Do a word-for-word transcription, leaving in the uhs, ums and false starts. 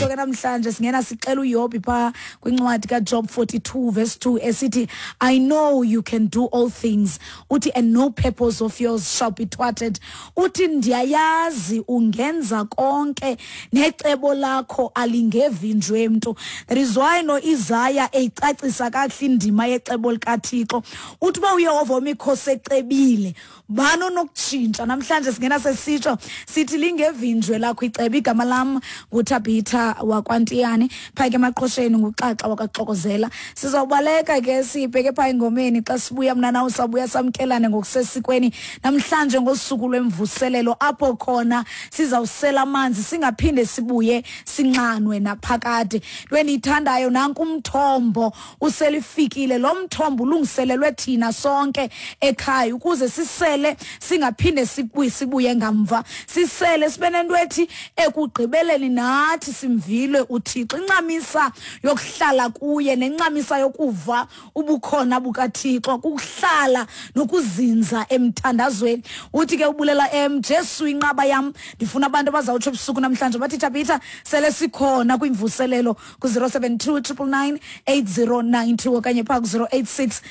Sesitsho ke namhlanje singena sixela uYobhi phaa kwincwadi kaJob forty-two verse two esithi, "I know you can do all things," uthi, "and no purpose of yours shall be thwarted." Uthi, "Ndiyayazi ungenza konke, necebo lakho alingevinjwe mntu." That is why noIsaya eyicacisa kakuhle indima yecebo likaThixo. Uthi uba uYehova wemikhosi ecebile, bani onokutshintsha? Namhlanje singena sesitsho sithi lingevinjwe lakho icebo. Igama lam nguThabitha wakwaNtiyane, phaa ke emaqhosheni nguXaxa wakwaXokozela. Sizawubaleka ke sibheke phaa engomeni. Xa sibuya, mna nawe sabuya samkelane ngokusesikweni namhlanje ngosuku lwemvuselelo, apho khona sizawusela amanzi singaphinde sibuye sinxanwe naphakade. Into endiyithandayo, nanku umthombo uselifikile. Lo mthombo ulungiselelwe thina sonke ekhaya ukuze sisele singaphinde sibuye sibuye ngamva, sisele sibe nento ethi ekugqibeleni nathi simvile uThixo. Incamisa yokuhlala kuye nencamisa yokuva ubukhona bukaThixo kukuhlala nokuzinza emthandazweni. Uthi ke ubulela em Jesu inqaba yam. Ndifuna abantu abazawutsho ebusuku namhlanje bathi, "Thabitha, sele sikhona kwimvuselelo," ku-zero seven two triple nine eight zero nine two okanye phaa ku-zero eight six.